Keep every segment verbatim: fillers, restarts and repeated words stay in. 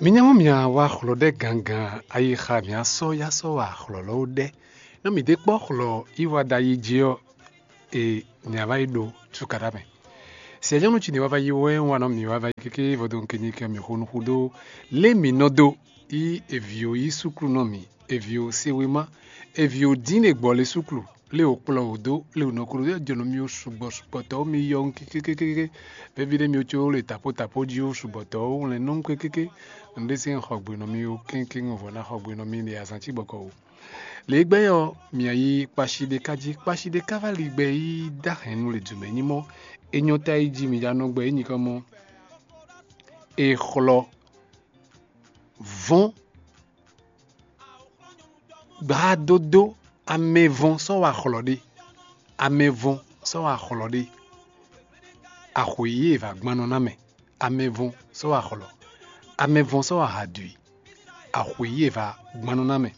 Mi nya mɔ mia wá xlɔ ɖɛ gangan ayixa mia sɔ́ ya sɔ́ wá xlɔ lɔ ɖɛ. Nɔ mi ɖe kpɔ́ xlɔ yi wá ɖa yi jí ɔ́, e mia wá yi ɖo cukaɖa mɛ. Sianyɔnu ci ne wá va yi wɛ wá nɔ mi wá va yi kéké vodun kenyi kɛ mi xo nuxu ɖó lé mi nɔ dó yi evi o yi suklu nɔ mi, evi o se wema, evi o dín ɖe gbɔ le suklu, lé o kplɔ o dó, lé o nɔ klo jɔnɔ mi o sugbɔ sugbɔ tɔ mi yɔ kékékéké. Vevi ɖe mi o co le tapo tapo jí o sugbɔ tɔ o wlɛn nɔ kékéké. Nɖe se xɔ gbe nɔ mi o kénkéŋ vɔ na xɔ gbe nɔ mi le azan ci bɔkɔ o. Le gbɛ ɔ, mia yi kpashi ɖe ka jí, kpashi ɖe ka va li gbɛ yi dá hɛn nu le dùmɛ nyí mɔ. E nyɔ ta yi jí mi ya nɔ gbɛ yi nyikɔ mɔ. E xlɔ vɔn gbadódó amɛvɔn sɔ́ wa xlɔ ɖé. Amɛvɔn sɔ́ wa xlɔ ɖé. Axwe yí e va gbannɔ ná mɛ. Amɛvɔn sɔ́ wa xlɔ. Amɛvɔn sɔ́ wa ha dui. Axwe yí e va gbannɔ ná mɛ.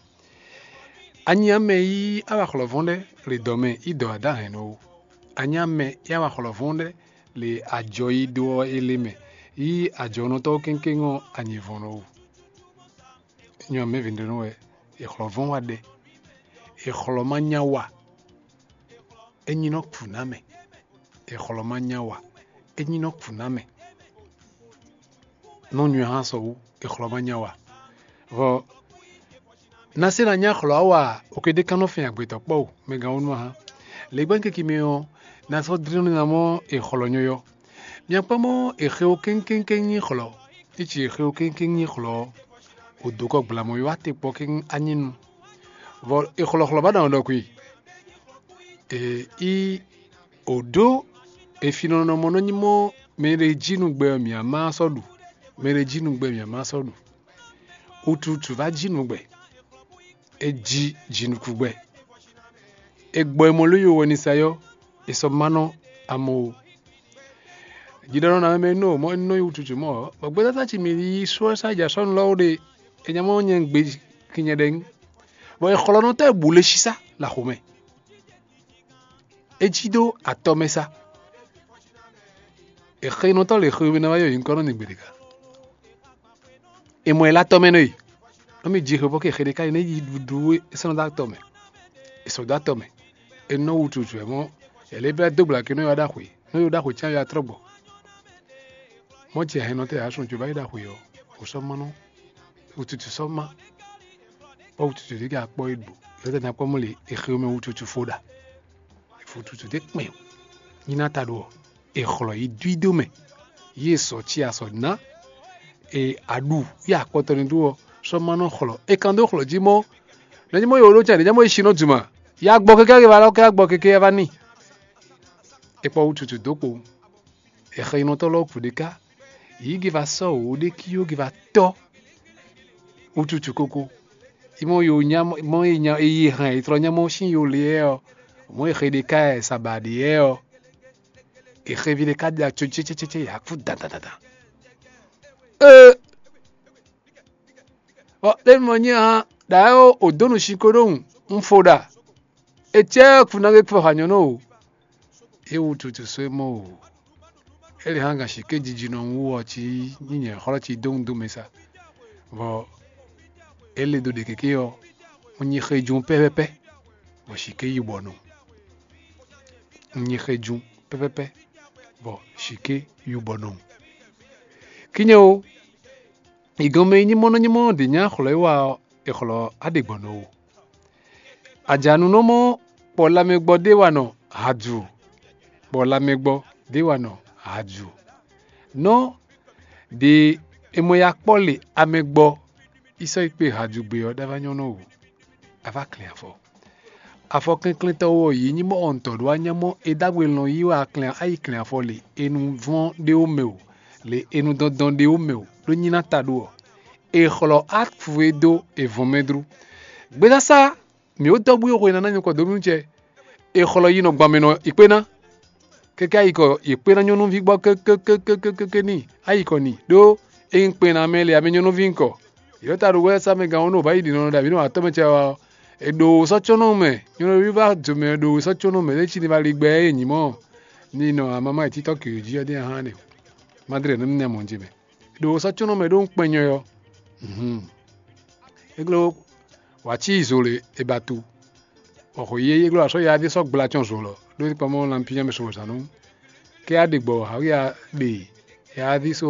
Anyi amɛ yí awa xlɔ vɔn ɖɛ le dɔ mɛ yi dɔ adá hɛn nɔ o. Anyi amɛ yí awa xlɔ vɔn ɖɛ le ajɔ yi ɖó ɔ́ ele mɛ yí ajɔnɔtɔ́ kéŋkéŋ ɔ́ anyi vɔn nɔ o. Nyɔ mɛ vǐ ɖé nú wɛ, è xlɔ́ vɔ́n wá ɖɛ, è xlɔ́ má nya wa, é nyí nɔ kú ná mɛ. È xlɔ́ má nya wa, é nyí nɔ kú ná mɛ. Nɔ nywɛ hã sɔ wú, è xlɔ́ má nya wa. Vɔ ná se ná nya xlɔ́ á wa, òkè ɖé ká nɔ fɛn agbetɔ́ kpɔ́ o, mɛ gán wónú hã. Lě gbɛ́ kiki mi ɔ́, ná sɔ́ dlín nú ná mɔ è xlɔ́ nyɔ́yɔ́. Mia kpɔ́n mɔ è xe wo kéŋkéŋkéŋ nyí xlɔ́, é ci è xe wo kéŋkéŋ nyí xlɔ́ ɔ́, wǒ dó kɔ gblamɔ yi wá te kpɔ́ kéŋ anyínu. Vɔ è xlɔ́xlɔ́ ba ɖɔ ɖɔkui. È í wǒ ɖó è finɔnɔ mɔ nɔ nyí mɔ mɛ e jí nú gbɛ ɔ́ mǐ á má sɔ́ ɖu. Mɛ e jí nú gbɛ mǐ á má sɔ́ ɖu. Wututu vá jí nǔ gbɛ. É jí jinukúgbɛ. È gbɔ e mɔ ló yi wɛ ní sa yɔ́, è sɔ́ má nɔ amɔ o. Jiɖɔnɔ ná mɛ nɔ mɔ nɔ yi wututu mɔ ɔ́, bɔ gbɛtata ci mi yi sɔ́ sá ja sɔ́nu lɔ́ wo ɖe, è nya mɔ nyɛ gbe kinyɛ ɖɛ nyí. Bɔ è xlɔ́ nɔ tɔ́ è bu le sísá le axomɛ. É jí dó atɔ mɛ sá. È xe nɔ tɔ́ le xwe mɛ ná wá yɔ nyǐkɔ nɔ nyi gbeɖeka. È mɔ ɛ lé atɔ mɛ nɔ yi. Nɔ mi ji xwe bɔ ke xe ɖeka yi nɛ yi ɖuɖu e sɔ́ nɔ dó atɔ mɛ. È sɔ́ dó atɔ mɛ. È nɔ wutu jǔ ɛ mɔ, è lě bɛ́ dó gbla ke nɔ yi wá ɖaxwe. Nɔ yi ɖaxwe cyán ya trɔ́ gbɔ. Mɔ ce hɛn nɔ tɛ yǎ sɔn co bá yi ɖaxwe ɔ́, wò sɔ́ má nɔ. Wututu sɔ́ má. Bɔ wututu ɖé ka kpɔ́ yi ɖu. Yɔtɛ ná kpɔ́ mɔ le è xe mɛ wututu fo ɖa. È fo wututu ɖé kpɛn. Nyi ná ta ɖo ɔ́, è xlɔ yi dú i dó mɛ. Yi è sɔ ci asɔ ná. E aɖu yi akpɔtɔ ni ɖu ɔ́, sɔ́ má nɔ xlɔ. E kan dó xlɔ jí mɔ. Nɔ nyí mɔ yi wǒ ɖó can ɖě nyí mɔ yi si nɔ duma. Ya gbɔ keke ake va lɔ kɛ agbɔ keke ya va ní. E kpɔ wututu dó kpo. E xɛ yi nɔtɔ lɔ ku ɖeka. Yi ge va sɔ wǒ ɖé ki yó ge va tɔ. Wututu koko. Yi mɔ yi nya mɔ yi nya yi hɛn yi trɔ nya mɔ sin yo le yɛ ɔ. Mɔ yi xɛ ɖeka ɛ saba ɖe yɛ ɔ. Exevi ɖé ka ɖi atso cécécécé yǎkú dandandandan. Ee, ɔ ɖé mɔ nyí hã ɖa ɛ o dó nu sin ko ɖó ŋu. Un fo ɖa. Ecɛ kú ná gé kpɔ ha nyɔ̌nu o. É wututu só é mɔ o. É lě hã gǎn siké jijinɔ wú ɔ cí nyí nyɛ xlɔ́ cí dó ŋu dó mɛ sa. Vɔ é lě dó ɖe kéké ɔ́, un nyi xejú pɛ́pɛ́pɛ́, bɔ siké yi bɔ nɔ. Un nyi xejú pɛ́pɛ́pɛ́, bɔ siké yi bɔ nɔ. Kínyɛ o, igɔnmɛ nyímɔ́ nɔ nyímɔ́ ɖě nyá xlɔ́ e wa ɔ́, è xlɔ́ á ɖe gbɔn nɔ o. Ajanunɔmɔ kpɔ lanmɛgbɔ ɖé wa nɔ hadu, kpɔ lanmɛgbɔ ɖé wa nɔ hadu. Nɔ ɖe è mɔ ya kpɔ́ le amɛgbɔ yi sɔ́ yi kpe hadu gbe ɔ́ ɖ'avá nyɔ́ nɔ o. A vá klɛn afɔ. Afɔ kɛnklɛntɔ wɔ yě nyí mɔ ɔntɔ ɖó anyá mɔ é ɖagbe lɔn yí wɛ a klɛn a yi klɛn afɔ le e nu vɔn ɖé wó mɛ o, le e nu dɔndɔn ɖé wó mɛ o, ɖó nyí ná ta ɖó ɔ. È xlɔ afu e dó è vɔn mɛ dru. Gbesasa mǐ ó dɔ́ bú yi xwe ná ná nyɔkɔ dó nú cɛ. È xlɔ yi nɔ gban mɛ nɔ yi kpé ná. Kɛkɛ ayikɔ yě kpé ná nyɔ́núví gbɔ kékékékékéké ní ayikɔ ni ɖó é nyí kpé ná mɛ le amɛ nyɔ́núví ŋkɔ. Yě ta ɖo wɛ sá mɛ gán wónú bá yi ɖi nɔ ɖo abǐ nɔ atɔ́ mɛ cɛ wa ɔ́, è ɖo wǒ sɔ́ cónɔ mɛ, nyɔ́núví va do mɛ ɖo wǒ sɔ́ cónɔ mɛ ɖé cí ní va li gbɛ é nyǐ mɔ ní nɔ amama yi títɔ́ kǐ jí ɔ́ dé hán ɖe. Madre nɔ ní nɛ mɔ jɛ mɛ. È ɖo wǒ sɔ́ cónɔ mɛ ɖó ŋkpɛn nyɔ ɔ́. Hǔn, é gló wǎ cí zo lě è ba tu, bɔ xwě yí é gló wǎ sɔ́ yaví sɔ́ gbla cɔn zo lɔ ɖó é kpɔ́n mɔ lanpiyán mɛ sɔmɔzǎn nú. Kɛ a ɖe gbɔ hǎwia ɖe yaví só